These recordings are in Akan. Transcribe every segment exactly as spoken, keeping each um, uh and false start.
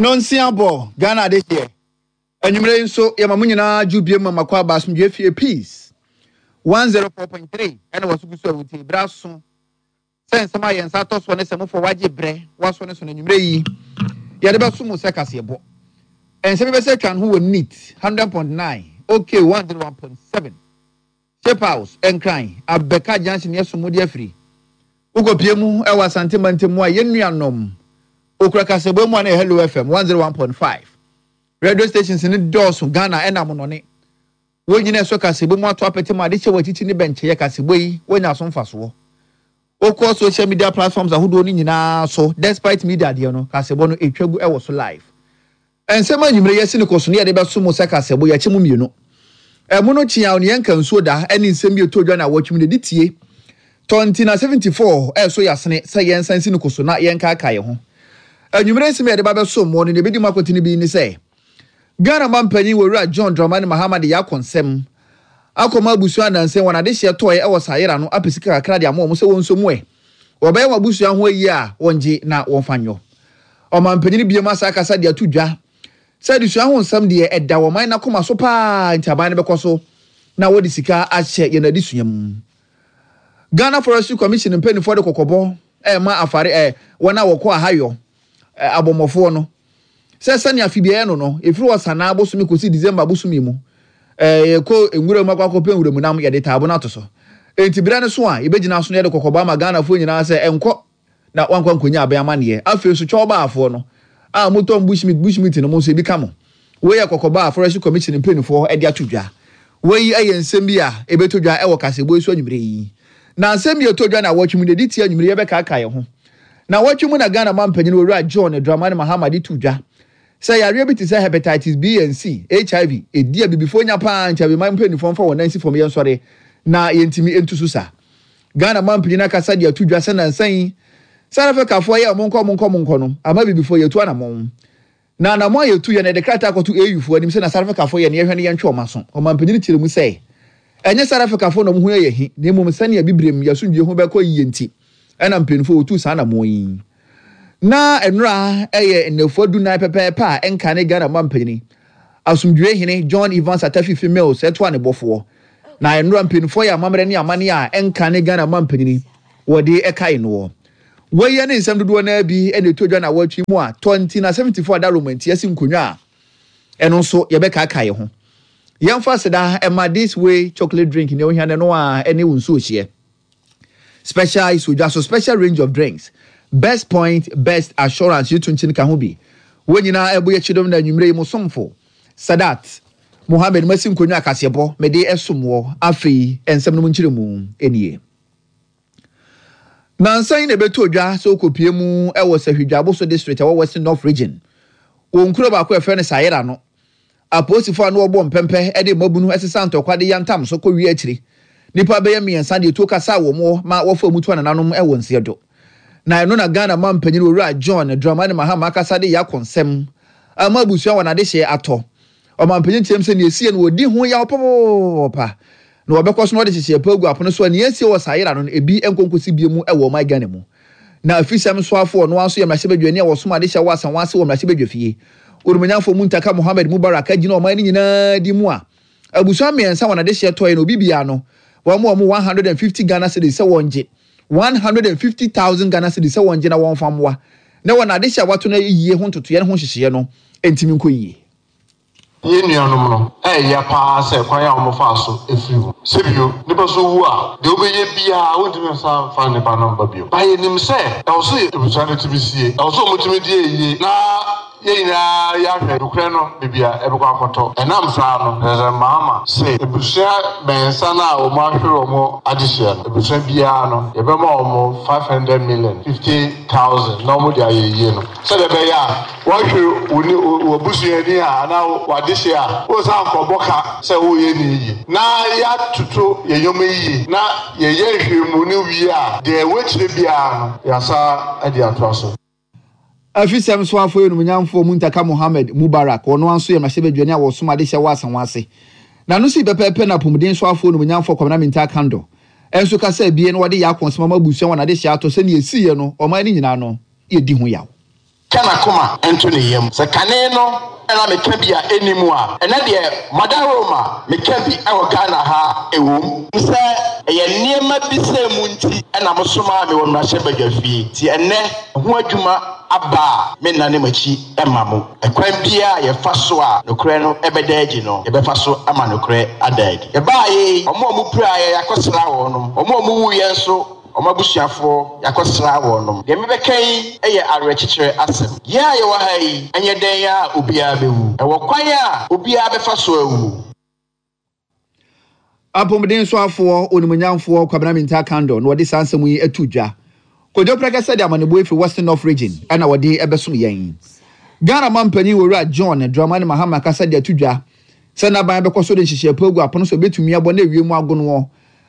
Nonsia bɔ Ghana adehyeɛ. Anwummerɛ yi nso yɛma mo nyinaa dwo biem ma makɔ aba asomdwoe fie Peace one zero four point three ɛna wɔso gu so a wotie berɛ aso sɛ nsɛm a yɛn nsa atɔ soɔ ne sɛ mofoɔ wagye berɛ waso ne so no anwummerɛ yi yɛde bɛso mo sɛ kaseɛbɔ. Nsɛm bi bɛsɛ atwa ne ho wɔ NEAT hundred point nine, OK one zero one point seven, Shape House, Nkran, Abɛka Junction yɛso mo de afiri. Wokɔpie mu ɛwɔ Asante mantam mu a yɛn nuanom okura kaseɛbɔ mu a na yɛ Hello F M one zero one point five. Radio stations ne dɔɔso Ghana ɛna monɔne. Wɔn nyinaa ɛsɔ kaseɛbɔ mu ato apɛtɛ mu ade hyɛ wɔ akyikyi ne bɛnkyɛyɛ kaseɛbɔ yi wɔnya so mfasoɔ. Wokɔ social media platforms ahodoɔ no nyinaa so despite media deɛ no kaseɛbɔ no etwa gu ɛwɔ so live. Nsɛm anwummerɛ yɛsi ne kɔ so ne yɛde bɛso mo sɛ kaseɛbɔ yɛakyi mu mmienu. Ɛmo no kyea ne yɛnka nsuo da ɛne nsɛm bi ɛtɔ dwa na awɔtwe mu na ɛdi tie. Tɔnti na seventy-four ɛso yɛasene sɛ yɛnsan si ne kɔ so na yɛnkaakae yɛn ho. Anwummerɛ nsɛm yɛde ba bɛso mo no na ebedi mu akɔtene bi ne sɛ Ghana mampanyin Owura John Dramani Mahama de yɛ akɔnsɛm akɔma abusua nansa wɔn adehyeɛ tɔɔɛ ɛwɔ Sayera no apɛ sika kakra de ama wɔn sɛ wɔn nso mu ɛ. Wɔbɛyɛ wɔn abusua ho ayi a wɔngye na wɔmfa nyɔ. Ɔmampanyin biem asa akasa de ato dwa sɛ adesua ho nsɛm deɛ ɛda wɔn man n'akoma so paa nti aban no bɛkɔ so na wɔde sika ahyɛ yɛn adesua mu. Ghana Forestry Commission mpanimfoɔ de kɔkɔbɔ ɛma afare ɛ wɔn a wɔkɔ ahayɔ abɔmmɔfoɔ no sɛ sɛnea afibea no no efiri wɔ sanaa bosome kɔsi December bosome mu ɛɛ yɛkɔ nwura mu akɔ akɔpɛ nwura mu nam yɛde taabo no ato so. Enti berɛ no so a yɛbɛgyina so no yɛde kɔkɔbɔ ama Ghanafoɔ nyinaa sɛ ɛnkɔ na wankɔ nkɔnya abɛn amanneɛ. Afei nso twɛwbaafoɔ no a motɔn bushmeat bushmeat no mo nso ebi ka mo. Wei yɛ kɔkɔbɔ a Forestry Commission mpanimfoɔ de ato dwa. Wei yɛ nsɛm bi a ɛbɛtɔ dwa ɛwɔ kaseɛbɔ yi so anwummerɛ yi. Na nsɛm bi a ɛtɔ dwa na awɔtwe mu na ɛdi tia anwummerɛ yɛbɛkaakae yɛn ho. Na awɔtwe mu na Ghana mampanyin Owura John Dramani Mahama de to dwa sɛ yareɛ bi te sɛ hepatitis B and C, H I V, ɛdi abibifoɔ nya paa nti abiman mpanimfoɔ mfa wɔn nan si fam yɛnsɔre na yɛntumi ntu so sa. Ghana mampanyin akasa de ato dwa sɛ nansa yi South Africafoɔ yɛ ɔmo nkɔ ɔmo nkɔ ɔmo nkɔ no ama abibifoɔ yɛtu anammɔn. Na anammɔn a yɛtu yɛ no yɛde krataa akɔto A U foɔ anim sɛ na South Africafoɔ yɛ no yɛhwɛ no yɛntwe ɔmo aso. Ɔmampanyin kyerɛ mu sɛ ɛnyɛ South Africafoɔ na ɔmo ho yɛ yɛ hi na mmom sɛnea bibirem yɛasomdwie ho bɛkɔ yie nti ɛna mpanimfoɔ wɔtu saa anammɔn yi. Na nnora ɛyɛ nnafua dunan pɛpɛɛpɛ a ɛnka ne Ghana mampanyin asomdwie hene John Evans Atta Fifi Mills ɛtoa ne bɔfoɔ. Na nnora mpanimfoɔ yɛ amammerɛ ne amanneɛ a ɛnka ne Ghana mampanyin wɔde ɛkae noɔ. Wɔyɛ ne nsɛm dodoɔ naa bi ɛna ɛtɔ dwa na wɔatwi mu a twenty na seventy-four da romanti asi nkonnwa a ɛno nso yɛbɛkaakae ho. Yɛmfa seda ɛma This Way chocolate drink ne ohia no a ɛne wo nsuo hyeɛ. Special isodwa so special range of drinks. Best point, best assurance yitu nkyini ka ho bi. Wɔn nyinaa ɛbɔ yɛ kyidom na anwummerɛ yi mu somfo. Sadat Mohammed masi nkonnwa akaseɛbɔ mede ɛsom wɔ afei nsɛm no mu nkyerɛ mu nie. Nansa yi na ɛbɛtɔ dwa sɛ wokɔpie mu ɛwɔ Sahwidwaboso district ɛwɔ Western North Region. Wɔn nkuro baako a yɛfrɛ no Sayera no. Apolisifoɔ a na wɔbɔ mpɛmpɛ ɛde mmabunu ɛsesa ntɔkwa de yantam so kɔ wie akyiri. Nnipa bɛyɛ mmiɛnsa deɛ tuo kasa wɔ mu ma wɔfa mu to anananom ɛwɔ nseɛ do. Na ɛno na Ghana mampanyin Owura John Dramani Mahama akasa de yɛ akɔnsɛm ama abusua wɔn adehyeɛ atɔ. Ɔmampanyin kyerɛm sɛ nea esie no wɔdi ho yaw papaapa. Na wɔbɛkɔ so na wɔde hyehyɛ pa agu apono so a nea esie wɔ Sayera no ebi nkonkosi bie mu ɛwɔ ɔman Ghana mu. Na afisɛm soafoɔ no nso yɛ mmarahyɛbadwani a wɔsom adehyɛ wɔ Asanwase wɔ mmarahyɛbadwa fie. Onimonyamfoɔ Muntaka Mohammed Mubarak agyina ɔman no nyinaa di mu a abusua mmiɛnsa wɔn adehyeɛ tɔe no obi bia no wɔn mu wɔn one hundred and fifty Ghana cedis sɛ wɔn gye one hundred and fifty thousand Ghana cedis sɛ wɔn gye na wɔn fa mmoa na wɔn adehyɛ a wɔato no yie ho ntotoeɛ ne ho nhyehyɛeɛ no ntumi nkɔ yie. Yɛn nuanom no ɛyɛ paa sɛ kwan a wɔfa so efiri mu. Sɛbio nipa so wu a deɛ wobɛyɛ biara wontumi nsa mfa nipa no mba bio. Ba yɛnim sɛ ɛwɔ so abusua no tumi sie, ɛwɔ so wɔn tumi di yie na yɛn nyinaa yɛahwɛ nokorɛ no baabi a ɛbɛkɔ akɔtɔ. Ɛnam saa no, President Mahama sɛ abusua mmiɛnsa no a wɔn ahwere wɔn adehyeɛ no, abusua biara no yɛbɛma wɔn five hundred million fifty thousand na wɔn de ayɛ yie no. Sɛdeɛ ɛbɛyɛ a wɔahwere wo ne wo abusuani a anaa w'adehyeɛ a wosan nkɔbɔ ka sɛ woyɛ ne yie. Na yɛatoto yɛn nneɛma yie na yɛyɛ nhwehwɛmu no wie a deɛ ɛwɔ akyire biara no yɛasa de atoa so. Afisɛm soafoɔ onimonyamfoɔ Muntaka Mohammed Mubarak ɔno nso yɛ mmarahyɛbadwani a wɔsom adehyɛ wɔ Asanwase. Na no si pɛpɛɛpɛ na apɔmuden soafoɔ onimonyamfoɔ Kwabena Mintah Akandoh ɛnso kasa ebien na wɔde yɛ akɔnsɛm ama abusua wɔn adehyɛ atɔ sɛnea esiiɛ no ɔman no nyinaa no yɛdi ho yaw. Ka n'akoma nto ne yam. Sɛ kane no na meka bi a ɛnni mu a, ɛnnɛ deɛ Madaroma meka bi wɔ Ghana ha a ɛwom. Sɛ ɛyɛ nneɛma bi sɛɛ mu nti na mosomaa me wɔ mmarahyɛbadwafie, nti ɛnnɛ ho adwuma aba a mennane m'akyi mma mo. Ɛkwan biara a yɛfa so a nokorɛ no bɛda adi no, yɛbɛfa so ama nokorɛ ada adi. Yɛbaeɛ yi, wɔn a wɔpiraeɛ, yɛakɔsra wɔnom. Wɔn a wɔwuiɛ nso, wɔn abusuafoɔ, yɛakɔsra wɔnom. Deɛ mebɛka yi yɛ awerɛkyekyerɛ asɛm. Yɛn a yɛwɔ ha yi, ɛnyɛ dɛn ara a obiara bɛwu. Ɛwɔ kwan a obiara bɛfa so awu. Apɔmuden soafoɔ Onimuonyamfoɔ Kwabena Mintah Kandor na ɔde saa nsɛm yi ato dwa. Kojo Prɛkɛsɛ de amanebɔ yi firi Western North Region na wɔde bɛsom yɛn. Ghana manpanin Owura John Dramani Mahama kasa de ato dwa sɛ n'aban bɛkɔ so de nhyehyɛe pa agu apono so a ebetumi abɔ na ewiem agonoɔ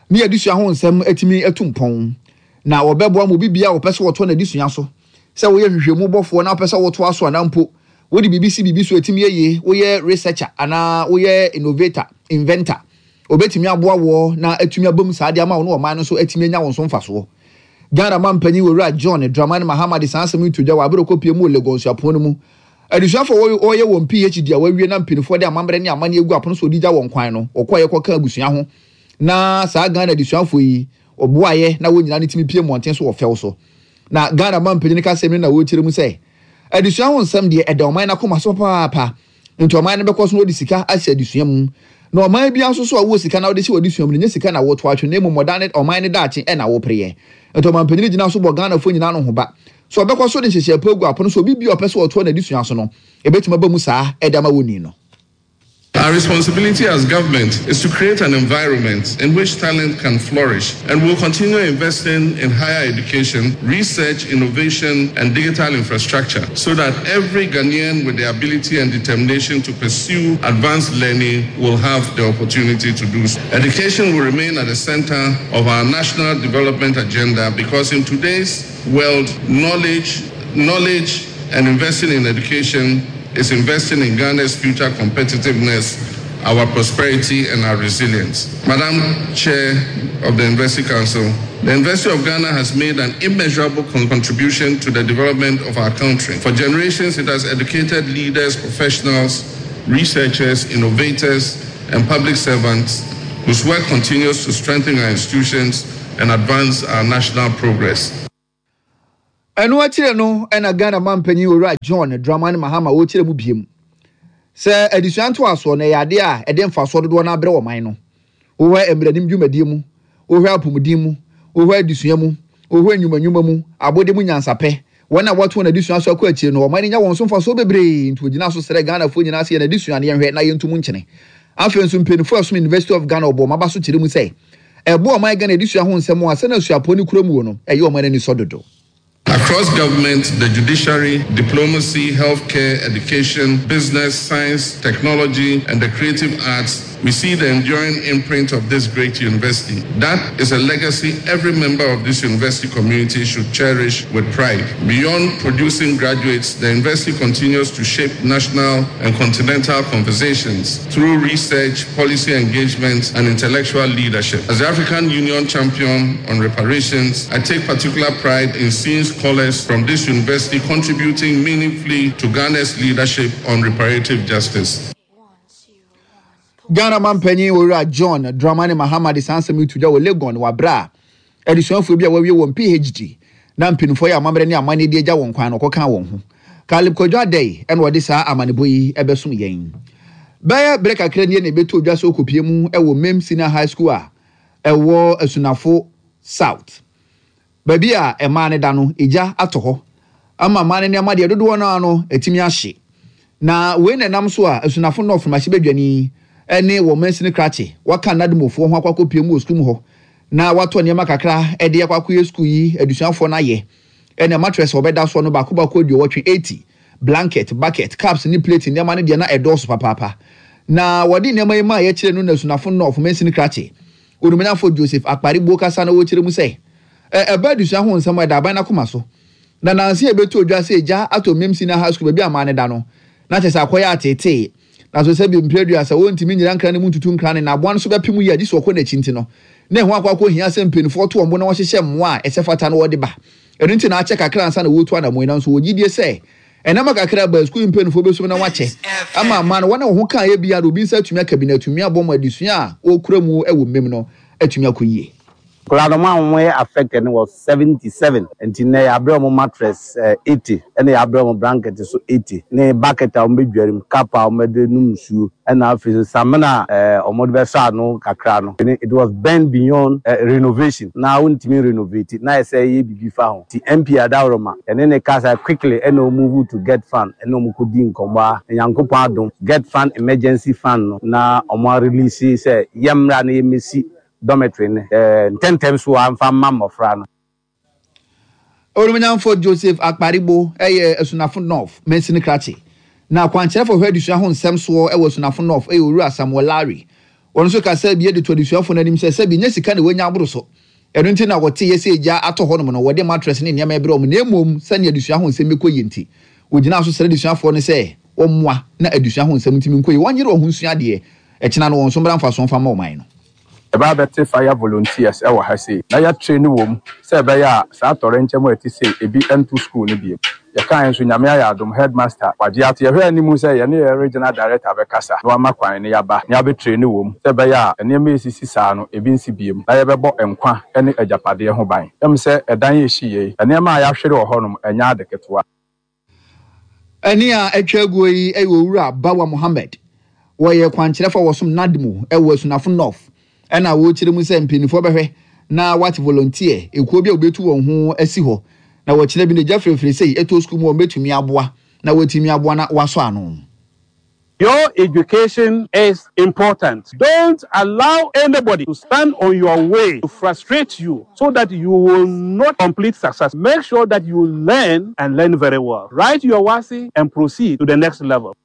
ne adesua ho nsɛm atumi atu mpɔn. Na wɔbɛboa ma obi biara a ɔpɛ sɛ ɔtoa n'adesua so, sɛ woyɛ nhwehwɛmu bɔfoɔ na wopɛ sɛ wotoa so anaa mpo wode biribi si biribi so a ɛtumi yɛ yie, woyɛ researcher anaa woyɛ innovator, inventor, wɔbɛtumi aboa woɔ na atumi aba mu saa de ama wo ne ɔman no nso atumi anya wo so mfasoɔ. Ghana manpanyin Owura John Dramani Mahama de saa asɛm yi to dwa wɔ abere ɔkɔpie mu wɔ Legon Suapɔn no mu. Adesuafoɔ a wɔyɛ wɔn PhD a wɔawie na mpanimfoɔ de amammerɛ ne amanneɛ agu apono so wɔde gya wɔn kwan no, wɔkɔeɛ kɔkaa abusua ho na saa Ghana adesuafoɔ yi wɔboaeɛ na wɔn nyinaa no tumi pue mmɔnten so wɔ fɛw so. Na Ghana manpanyin kasɛm no na wɔrekyerɛ mu sɛ adesua ho nsɛm deɛ ɛda ɔman no akoma so papaapa nti ɔman no bɛkɔ so na wɔde sika ahyɛ adesua mu. Na ɔman biara nso so a wowɔ sika na wode hyɛ w'adesua mu no nyɛ sika na woto atwene na mmom ɔdan ne ɔman no daakye na wopereɛ. Nti ɔmanpanyin gyina so bɔ Ghanafoɔ nyinaa no ho ba sɛ ɔbɛkɔ so de nhyehyɛe pa agu apono so obi biara a ɔpɛ sɛ ɔtoa n'adesua so no ɛbɛtumi aba mu saa de ama wɔn ni no. Our responsibility as government is to create an environment in which talent can flourish, and we'll continue investing in higher education, research, innovation, and digital infrastructure so that every Ghanaian with the ability and determination to pursue advanced learning will have the opportunity to do so. Education will remain at the center of our national development agenda because in today's world, knowledge, knowledge and investing in education is investing in Ghana's future competitiveness, our prosperity, and our resilience. Madam Chair of the University Council, the University of Ghana has made an immeasurable contribution to the development of our country. For generations, it has educated leaders, professionals, researchers, innovators, and public servants whose work continues to strengthen our institutions and advance our national progress. Ɛno akyire no na Ghana manpanyin Owura John Dramani Mahama ɔrekyerɛ mu biem sɛ adesua ntoasoɔ no ɛyɛ adeɛ a ɛde mfasoɔ dodoɔ no abrɛ ɔman no. Wohwɛ mmaranim dwumadie mu, wohwɛ apomuden mu, wohwɛ adesua mu, wohwɛ nnwuma nnwuma mu, abɔde mu nyansapɛ, wɔn a wɔato wɔn adesua so akɔ akyire no ɔman no nya wɔn so mfasoɔ bebree nti ɔgyina so srɛ Ghanafoɔ nyinaa sɛ yɛn adesua no yɛnhwɛ na yɛnto mu nkyene. Afei nso mpaninfoɔ a ɛsom University of Ghana ɔbɔ wɔn aba so kyerɛ mu sɛ ɛboa ɔman Ghana adesua ho nsɛm a sɛnea suapɔn no kura muo no ɛyɛ ɔman no anisɔ dodo. Across government, the judiciary, diplomacy, healthcare, education, business, science, technology, and the creative arts, we see the enduring imprint of this great university. That is a legacy every member of this university community should cherish with pride. Beyond producing graduates, the university continues to shape national and continental conversations through research, policy engagement, and intellectual leadership. As the African Union champion on reparations, I take particular pride in seeing scholars from this university contributing meaningfully to Ghana's leadership on reparative justice. Ghana manpanyin Owura John Dramani Mahama de saa nsɛm yi to dwa wɔ Legon wɔ bere a adesuafoɔ bi a wɔawie wɔn PhD na mpanimfoɔ yɛ amammerɛ ne amanneɛ de agya wɔn kwan no kɔkaa wɔn ho. Caleb Kwadwo Adei na ɔde saa amanebɔ yi bɛsom yɛn. Bɛyɛ bere kakra nie na ɛbɛtoo dwa sɛ ɔkɔpue mu wɔ Mem Senior High School a ɛwɔ Asunafo South. Baabi a mmaa no da no, egya atɔ hɔ ama mmaa no nneɛma deɛ dodoɔ no ara no atumi ahye. Na wei na ɛnam so a Asunafo North mmarahyɛbadwani ne wɔn mansini krakye wɔaka Nadmofoɔ ho akɔ akɔpue mu wɔ sukuu mu hɔ na wɔatɔ nneɛma kakra de akɔ akɔyɛ sukuu yi adesuafoɔ no ayɛ. Ɛnna mattress a wɔbɛda soɔ no baako baako aduɔwɔtwe, eighty, blanket, bucket, cups ne plate nneɛma no deɛ na ɛdɔɔso papaapa. Na wɔde nneɛma yi maa yɛkyerɛ no na Asunafo North mansini krakye Onumnyamfo Joseph Akparibo kasa na ɔrekyerɛ mu sɛ, Ɛ, ɛba adesua ho nsɛm a, ɛda aban no akoma so. Na nnansa yi ɛbɛtoo dwa sɛ egya atɔ Mem Senior High School baabi a mmaa no da no, na kyerɛ sɛ akɔyɛ ateetee. Nanso sɛbi mprɛ aduasa wɔntumi nnyina nkra no mu ntutu nkra no, na aboa no nso bɛpem yie a gye sɛ ɔkɔ n'akyi nti no, na ɛho akɔ akɔhia sɛ mpanimfoɔ to wɔn bo na wɔhyehyɛ mmoa a ɛsɛ fata na wɔde ba. Ɛno nti na akyɛ kakra ansa na wɔretu anammɔn yi, nanso wɔwɔ gyidie sɛ Ɛnam kakra ba sukuu mpanyinfoɔ bɛsum na wakyɛ ama ama no wɔn a wɔn ho kaa yɛ biara obi nsa atumi aka bi na atumi abɔ mu adesua a wɔkura mu wɔ mmem no atumi akɔ yie. Nkwadaa no a wɔyɛ affected no was seventy seven, nti nnɛ yɛabrɛ wɔn mattress eighty, ɛna yɛabrɛ wɔn blanket so eighty, ne bucket a wɔn bɛdware mu, cup a wɔde nom nsuo, ɛna afei so samina a ɛɛ wɔde bɛsɔ ano kakra no. It was burned beyond uh, renovation na wontumi renovate na yɛ sɛ ɛyɛ biribi fa ho, nti M P Adaworoma ɛne ne kasa quickly, ɛna wɔn move to GETFund, ɛna wɔn kɔ di nkɔmɔ a Nyankopɔn adom, GETFund emergency fund no na wɔn release sɛ yɛmmra na yɛmmɛsi dormitory no ɛɛ ntɛntɛm so amfa mma mmɔfra no. Olumunyamfo Joseph Akparibo ɛyɛ Asunafo North mansini krakye, na akwankyerɛfo hwɛ adesua ho nsɛm soɔ ɛwɔ Asunafo North ɛyɛ Owura Samuel Larry. Wɔn nso kasa bi de to adesuafoɔ no anim sɛ sɛbi nye sika na wɔanya aboro so, ɛno nti na wɔte yɛ sɛ egya atɔ hɔnom no wɔde mattress ne nneɛma ɛbrɛ wɔn, na mmom sɛnea adesua ho nsɛm bɛkɔ yie nti wɔgyina so srɛ adesuafoɔ no sɛ wɔmmoa na adesua ho nsɛm ntumi nkɔ yie, wɔnyere wɔn ho nsua adeɛ, ɛkyena no wɔn nso mmra mfasoɔ mfa ma ɔman no. Ɛbaa bɛte fire volunteers ɛwɔ ha sei na yɛatrain wɔ mu sɛ ɛbɛyɛ a saa atɔrɛnkyɛm a ɛte sei ebi nto school no bio. Yɛkae nso, Nyame ayɛ adom, headmaster wagye ato. Yɛhwɛ anim sɛ yɛne yɛ regional director bɛkasa na wama kwan ne yɛaba na yɛabɛtrain wɔ mu sɛ ɛbɛyɛ a nneɛma esisi saa no ebi nsi biem na yɛbɛbɔ nkwa ne agyapadeɛ ho ban. Ɛm sɛ ɛdan yɛ hyi yei, nneɛma a yɛahwere wɔ hɔnom ɛnyɛ ade ketewa. Ɛne a atwa aguo yi yɛ Owura Bawa Mohammed. Wɔyɛ kwankyerɛfo a wɔsom NADMO ɛwɔ Asunafo North, ɛna wɔrekyerɛ mu sɛ mpanimfoɔ bɛhwɛ na wate volunteer ekuo bi a wɔbɛtu wɔn ho asi hɔ na wɔkyerɛ bi na gya firifiri sei ɛtɔ sukuu mu, wɔn bɛtumi aboa na wɔatumi aboa na wɔasɔ ano. Your education is important. Don't allow anybody to stand on your way to frustrate you so that you will not complete success. Make sure that you learn and learn very well. Write your WASSCE and proceed to the next level.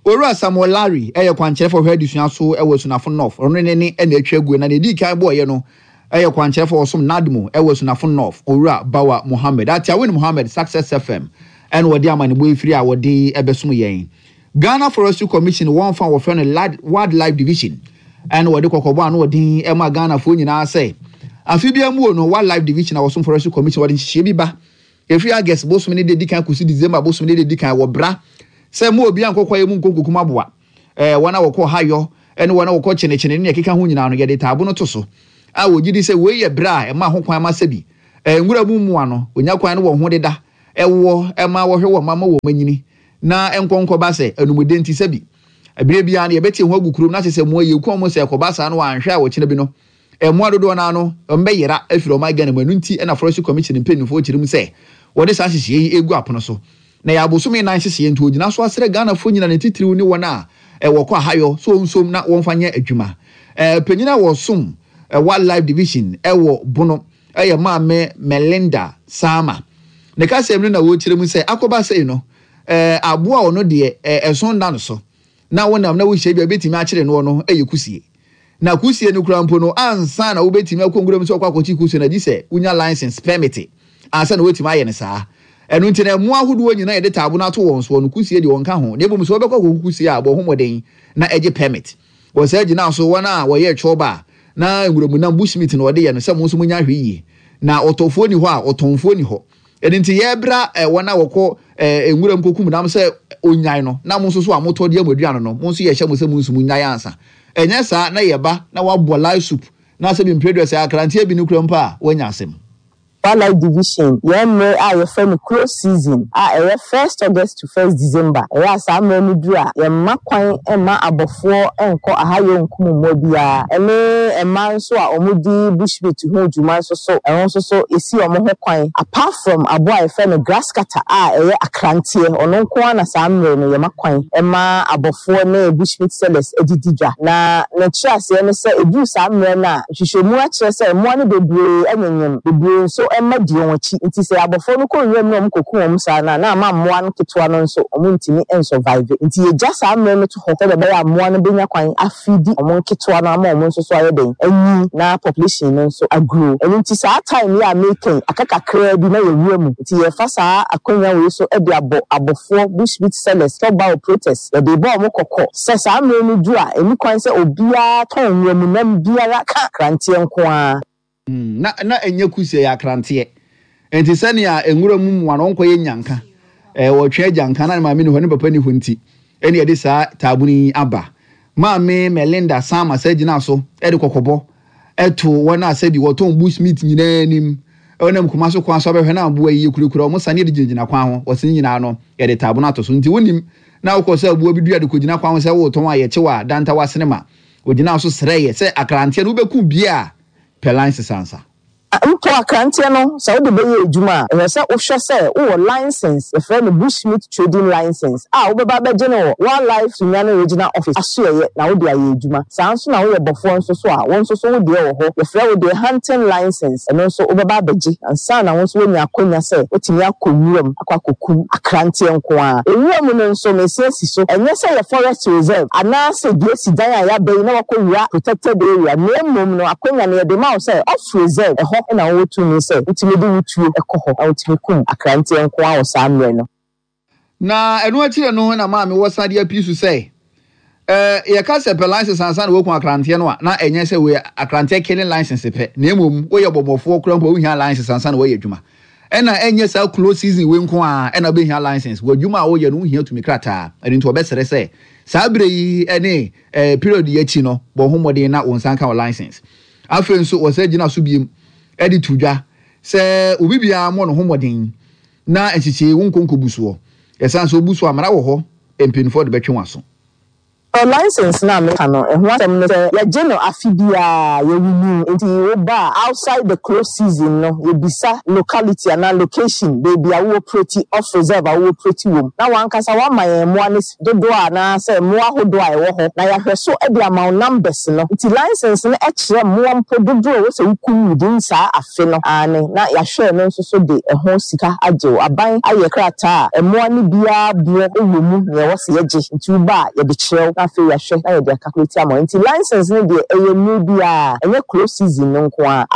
Owura Samuel Larry ɛyɛ kwankyerɛfo hwɛ adesua so ɛwɔ Asunafo North. Ɔno ne ne ɛna atwa aguo, na ne di kan bɔɔyɛ no ɛyɛ kwankyerɛfo ɔsom NADMO ɛwɔ Asunafo North, Owura Bawa Mohammed. Atiawin Mohammed, Success F M, ɛna wɔde amanebɔ efiri a wɔde ɛbɛsom yɛn. Ghana Forestry Commission wɔn fa wɔfrɛ no Wildlife Division, ɛna wɔde kɔkɔbɔ ano wɔde ɛma Ghanafoɔ nyinaa sɛ afi bi amuo no, Wildlife Division a wɔsom Forestry Commission wɔde nhyehyɛ bi ba efiri August bosom ne de di kan kɔsi December bosom ne de di kan wɔ bra sɛ mo obi ankɔkɔ yɛ mu nkonkokum aboa. ɛɛ wɔn a wɔkɔ hayɔ ɛne wɔn a wɔkɔ kyenekyene ne ɛkeka ho nyinaa no, yɛde taabo no to so a wɔgye di sɛ wei yɛ berɛ a ɛma ho kwan ma sɛbi ɛɛ nwura mu mmoa no onya kwan no wɔn ho deda ɛwɔ ɛma wɔhwɛ wɔn mama wɔn anyini na nkɔnkɔba sɛ anumude. Nti sɛbi ebire biara no yɛbɛte ho agu kurom na kyerɛ sɛ mmoa yɛ kɔn mu sɛ ɛkɔba saa no wɔanhwɛ a wɔkyerɛ bi no mmoa dodoɔ no ano mbɛyera afiri ɔman Ghana mu. Ɛno nti ɛna Forestry Commission mpanyinfoɔ kyerɛ mu sɛ wɔde saa nhyehyɛeɛ yi egu apono so na yɛ abosome nan nhyehyɛeɛ, nti ogyina so asrɛ Ghanafoɔ nyina, ne titiriw ne wɔn a ɛwɔ kɔ ahayɔ so nsom na wɔmfa nyɛ adwuma. ɛɛ panyin a wɔsom Wildlife Division ɛwɔ Bono ɛyɛ Maame Melinda Sama. Ne kasɛm no na wɔrekyerɛ mu sɛ akɔba sɛyi no, ɛɛ aboa a ɔno deɛ ɛɛ ɛso nda no so na wɔnam na wɔhyia bi a ebɛtumi akyerɛ no no ɛyɛ kusie, na kusie no kura mpo no, ansa na wobɛtumi akɔ nwura mu sɛ ɔkɔ akɔkye kusie no, agye sɛ wonya license permit ansa na wɔatumi ayɛ no saa. Ɛno nti na mmoa ahodoɔ nyinaa yɛde taabo no ato wɔn soɔ no, kusie deɛ wɔnka ho, na mmom sɛ wɔbɛkɔ akɔku kusie a, bɔ ho mmɔden na ɛgye permit. Wɔ saa gyina so, wɔn a wɔyɛ twɔba a na nwuramunam bushmeat na wɔde yɛ no sɛ mo nso monya ahwɛ yie, na ɔtɔfoɔ ni hɔ a ɔtɔnfoɔ ni hɔ. Ɛno nti yɛbra ɛ wɔn a wɔkɔ ɛ nwuram kokum nam sɛ onyae no, na mo nso so a motɔ deɛ mo aduane no, mo nso yɛhyɛ mo sɛ mo nso mo nyae ansa. Ɛnyɛ saa na yɛba na wabɔ live soup na sɛ bi mpere sɛ akranteɛ bi no kura mpo a wɔanya asɛm. Wildlife Division, yɛn mmerɛ a yɛfrɛ no close season a ɛyɛ first August to first December, ɛyɛ a saa mmerɛ no duru a yɛmma kwan mma abɔfoɔ nkɔ ahayɔ nkum mmoa biara, ɛne mmaa nso a wɔdi bushmeat ho dwuma nso so, ɛho nso so yɛsi wɔn ho kwan, apart from aboa a yɛfrɛ no grass cutter a ɛyɛ akranteɛ. Ɔno nko ara na saa mmerɛ no yɛma kwan ma abɔfoɔ ne bushmeat sellers didi dwa. Na n'akyerɛ aseɛ ne sɛ ɛduru saa mmerɛ no a, nhwehwɛmu akyerɛ sɛ mmoa no bebree anyenyem, bebree nso mma di wɔn akyi, nti sɛ abɔfoɔ no kɔ nwuram na wɔn kɔku wɔn saa no a, na ama mmoa no ketewa no nso wɔn ntumi nsurvive. Nti yɛgya saa mmerɛ no to hɔ sɛdeɛ ɛbɛyɛ a mmoa no bɛnya kwan afidi wɔn nketewa no ama wɔn nso so ayɛ den anyi na population no nso agrow. Ɛno nti saa time yi a meka aka kakraa bi na yɛwura mu, nti yɛfa saa akonnwa wei so de abɔ abɔfoɔ, bushmeat sellers, chop operators, yɛde bɔ wɔn kɔkɔ sɛ saa mmerɛ no du a, ɛni kwan sɛ obiara tɔn nwuramu nam biara ka kranteɛ nko ara. Na na ɛnyɛ kusie, yɛ akranteɛ. Nti sɛnea nwura mu mmoa no ɔnkɔyɛ nyanka. eh wɔtwe agyanka na ne maame ni hɔ ne papa ni hɔ nti ɛne yɛde saa taabunu yi aba. Maame Melinda Sama sɛ gyina so ɛde kɔkɔbɔ ɛto wɔn a sɛbi wɔtɔn bush meat nyinaa anim ɛnam kuma so kwan so abɛhwɛ na aboa yi kurakura wɔn sane de gyinagyina kwan ho wɔsi nyinaa no yɛde taabunu ato so nti wonim na wokɔ sɛ aboa bi dua de kɔgyina kwan ho sɛ wotɔn a yɛkyew a danta wasenema ogyina so srɛ yɛ sɛ akranteɛ no wobɛku bie a pɛ license ansa. Mpo akranteɛ no sɛ wode bɛyɛ adwuma a ɛhwɛ sɛ wohwɛ sɛ wowɔ license, yɛfrɛ no bushmeat trading license a wobɛba bɛgye no wɔ Wildlife Sunyani Regional Office asoɛyɛ na wode ayɛ adwuma. Saa nso na woyɛ bɔfoɔ nso so a wɔn nso so wo deɛ wɔ hɔ, yɛfrɛ wo deɛ hunting license, ɛno nso wobɛba abɛgye ansa na wo nso woanya akɔnya sɛ wotumi akɔ nwuram akɔ akɔkum akranteɛ nko a. Ewura no nso mesia si so, ɛnyɛ sɛ yɛ forest reserve anaasɛ dua si dan a yɛaba yi na wakɔwura protected area, na mmom no akɔnya no yɛde ma wo sɛ off reserve ɛhɔ na wɔwɔ tumi sɛ wotumi de wotuo ɛkɔ hɔ na wotumi kum akranteɛ nko a wɔ saa mmerɛ no. Na ɛno akyire no na maame wɔ sade api so sɛ eh yɛka sɛ pɛ license ansa na wɔku akranteɛ no a na ɛnyɛ sɛ wɔyɛ akranteɛ killing license pɛ, na mmom woyɛ bɔmmɔfoɔ kora mpo wohia license ansa na wɔyɛ adwuma. Ɛna ɛnyɛ saa close season wei nko a ɛna wobɛhia license wɔ adwuma a woyɛ no wohia tumi krataa. Ɛno nti wɔbɛsrɛ sɛ saa berɛ yi ɛne eh, period yi akyi no bɔ ho mmɔden na wo nsa nka wɔ license. Afei nso wɔsɛ gyina so biem ɛde to dwa sɛ obi biara mmɔ ne ho mmɔden na nhyehyɛe wo nkonko soɔ ɛsan sɛ obu so amara wɔ hɔ mpanyinfoɔ de bɛtwe wɔn aso. License na meka no ɛho asɛm no sɛ yɛgye no afe biara yɛrenew, nti woba outside the close season no yɛbisa locality anaa location baabi a wowɔ operate off reserve a wowɔ operate wɔ na wankasa wama yɛn mmoa no dodoɔ anaasɛ mmoa ahodoɔ a ɛwɔ hɔ na yɛahwɛ so de ama wo numbers no. Nti license no kyerɛ mmoa mpo dodoɔ a ɛwɔ sɛ wokum within saa afe no ane na yɛahwɛ no nso so de ɛho sika agye wo. Aban ayɛ krataa a mmoa no biara boɔ wɔ mu nea ɛwɔ sɛ yɛgye, nti woba a yɛde kyerɛ wo na afei yɛahwɛ na yɛde akalkulate ama wo. Nti license no deɛ ɛyɛ mmere biara, ɛnyɛ close season no nko a.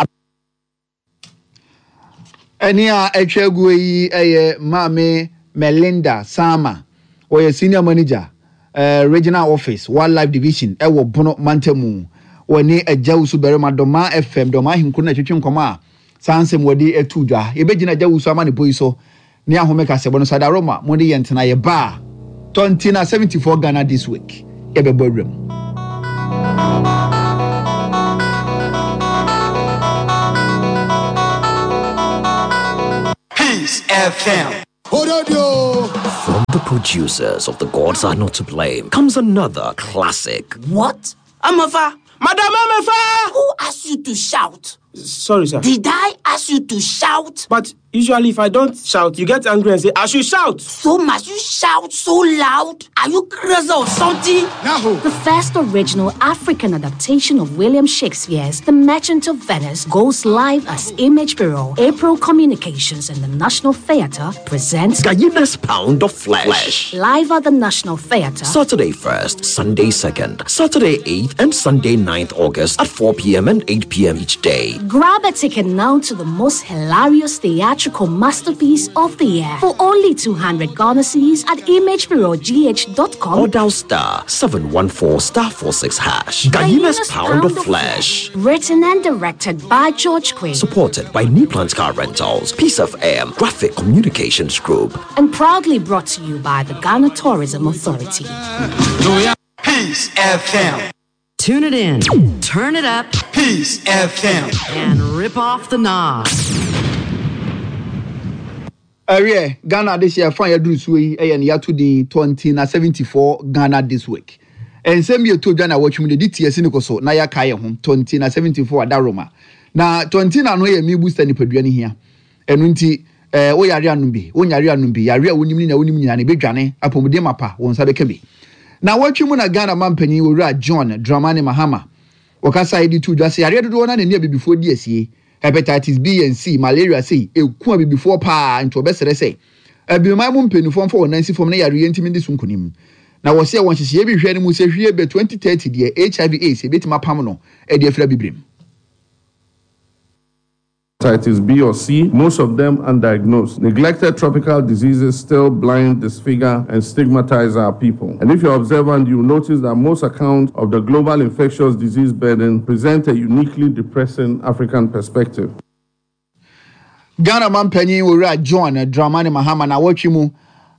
Ɛne a atwa aguo yi ɛyɛ Maame Melinda Sama, ɔyɛ senior manager eh, regional office wildlife division ɛwɔ Bono mantamu. Wɔne Agya Wusu Barima Dɔma F M Dɔma ahenkuro na ɛtwetwe nkɔmɔ a saa nsɛm wɔde atu dwa. Yɛbɛgyina Agya Wusu ama ne po yi so ne ahome kasɛbɔ no Sadaroma mo de yɛn tena yɛ ba twenty na seventy-four Ghana this week yɛbɛbɔ awuram. Peace F M. From the producers of The Gods Are Not to Blame comes another classic. What? Amafa! Madam Amafa! Who asked you to shout? Sorry, sir. Did I ask you to shout? But usually if I don't shout, you get angry and say, I should shout. So must you shout so loud? Are you crazy or something? No. The first original African adaptation of William Shakespeare's The Merchant of Venice goes live as Image Bureau, April Communications and the National Theatre presents Guyana's Pound of Flesh. Flesh. Live at the National Theatre. Saturday first, Sunday second, Saturday eighth and Sunday ninth August at four p m and eight p m each day. Grab a ticket now to the most hilarious theatrical masterpiece of the year for only two hundred Ghana cedis at image bureau g h dot com or dial star seven one four star four six hash. Guyana's Pound, Pound of Flesh. Flesh. Written and directed by George Quinn. Supported by New Plants Car Rentals, Peace F M, Graphic Communications Group. And proudly brought to you by the Ghana Tourism Authority. Peace F M. Tune it in, turn it up, Peace F M, and rip off the knob. Arie, Ghana this year, fine, you do eh, and yatu di twenty na seventy-four Ghana this week. And same year to Ghana watch me the D T S in so na ya kaya home twenty na seventy-four Daroma. Na twenty na no ye me booster ni peduani here. And unti eh o yare anumbi, o yare anumbi, yare wonim ni na wonim nyina na bedwane apomuden mapa won sa beka bi. Na watch mu na Ghana man panyin Owura John Dramani Mahama. Wakasa edi tu dwa se yare dodo na ne abibifo di asie. Hepatitis B and C, malaria C, eku abibifo pa nti obesere se abiman mu mpanifo mfo wonansi fom na yare ntimi di so nkonim. Na wo se won hyehye bi hwe ne mu se hwie be twenty thirty de H I V AIDS ebetima pam no e de afira bibrim. Hepatitis B or C, most of them undiagnosed. Neglected tropical diseases still blind, disfigure, and stigmatize our people. And if you're observant, you'll notice that most accounts of the global infectious disease burden present a uniquely depressing African perspective. Ghana man penny Owura John Dramani Mahama na watch mu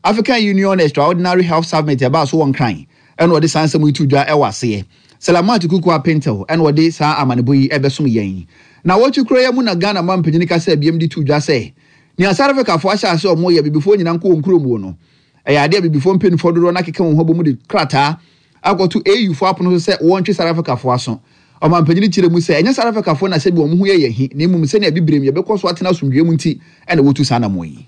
African Union Extraordinary Health Summit ɛbaa so wɔ Nkran ɛna ɔde saa nsɛm yi to dwa ɛwɔ aseɛ. Salamat Kuku Apintel ɛna ɔde saa amanebɔ yi ɛbɛsom yɛn. Na wɔtwi kuro yɛ mu na Ghana ma mpanyin kasa abiem de to dwa sɛ nea South Africafoɔ ahyɛ ase ɔmo yɛ bibifoɔ nyinaa nkɔ wɔn kurom no, ɛyɛ adeɛ a bibifoɔ mpanimfoɔ dodoɔ no akeka wɔn ho abɔ mu de krataa akɔto A U foɔ apono so sɛ wɔntwe South Africafoɔ aso. Ɔmampanyini kyerɛ mu sɛ ɛnyɛ South Africafoɔ na sɛbi wɔn ho yɛ yɛ hi, na mmom sɛnea bibirem yɛbɛkɔ so atena asomdwoe mu nti ɛna wɔtu saa anammɔn yi.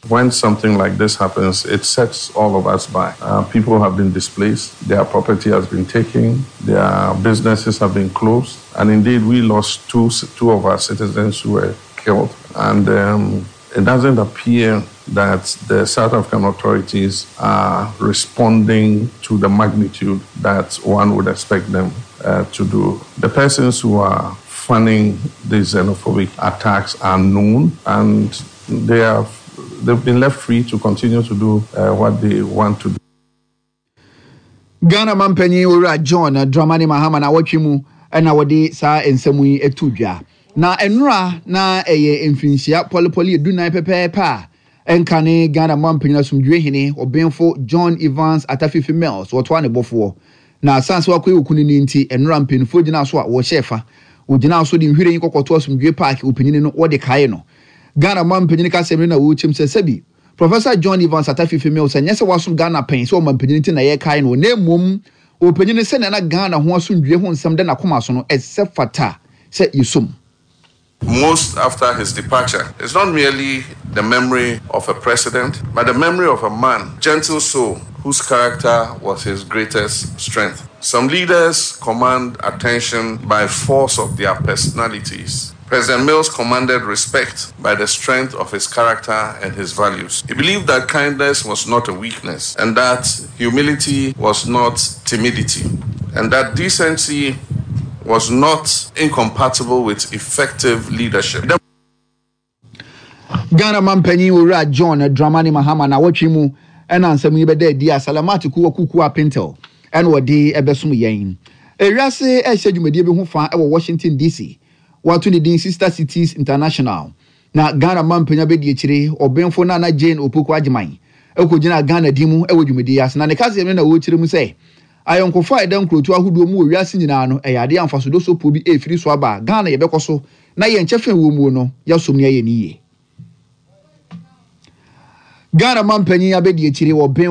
When something like this happens, it sets all of us back. Uh, people have been displaced, their property has been taken, their businesses have been closed, and indeed we lost two, two of our citizens who were killed. And um, it doesn't appear that the South African authorities are responding to the magnitude that one would expect them uh, to do. The persons who are funding these xenophobic attacks are known, and they have they've been left free to continue to do uh, what they want to do. Ghana mampanyin Owura John Dramani Mahama na wɔtwe mu ɛna wɔde saa nsɛm yi ato dwa. Na nnora na ɛyɛ mfinhyia pɔlepɔle edunan pɛpɛɛpɛ a ɛnka ne Ghana mampanyin asomdwe hene ɔbɛnfo John Evans Atta Fiifi Mills wɔtoa ne bɔfoɔ. Na asan sɛ wakɔyɛ okunu ne nti, nnora mpanimfoɔ gyina so a wɔhyɛ fa wɔgyina so de nhwiren kɔkɔto Asomdwe Park ɔpanyin no wɔde kae no. Ghana mampanyin kasɛm no na wɔrekyɛm sɛ sɛbi Professor John Evans Atta Fiifi Mills ɛnyɛ sɛ wasom Ghana pɛn sɛ ɔmampanyin nti na yɛkae no, na mmom ɔpanyin sɛnea na Ghana ho asomdwe ho nsɛm da n'akoma so no, ɛsɛ fata sɛ yɛsom. Most after his departure, it's not merely the memory of a president, but the memory of a man, gentle soul, whose character was his greatest strength. Some leaders command attention by force of their personalities. President Mills commanded respect by the strength of his character and his values. He believed that kindness was not a weakness, and that humility was not timidity, and that decency was not incompatible with effective leadership. Ghana mampanyin Owura John Dramani Mahama na wɔtwe mu ɛna nsɛm yi bɛda adi a Salamat Kuwa Kuku Apintel ɛna wɔde ɛbɛsom yɛn. Ewiase ɛhyɛ dwumadie bi ho fa ɛwɔ Washington D C, wɔato ne din Sister Cities International, na Ghana mampanyin abɛdi akyire ɔbɛnfo Nana Jane Opoku Agyeman ɛkɔgyina Ghana din mu ɛwɔ dwumadie ase. Na ne kaseɛ no na wɔrekyerɛ mu sɛ ayɔnkofa a ɛda nkurotu ahodoɔ mu wɔ wiase nyinaa no ɛyɛ adeɛ amfasodo sopo bi ɛfiri so aba. Ghana yɛbɛkɔ so na yɛn kyɛfɛn wɔ mu no yɛsom ne yɛyɛ ne yie. Ghana mampanyin abɛdi akyire wɔ bɛn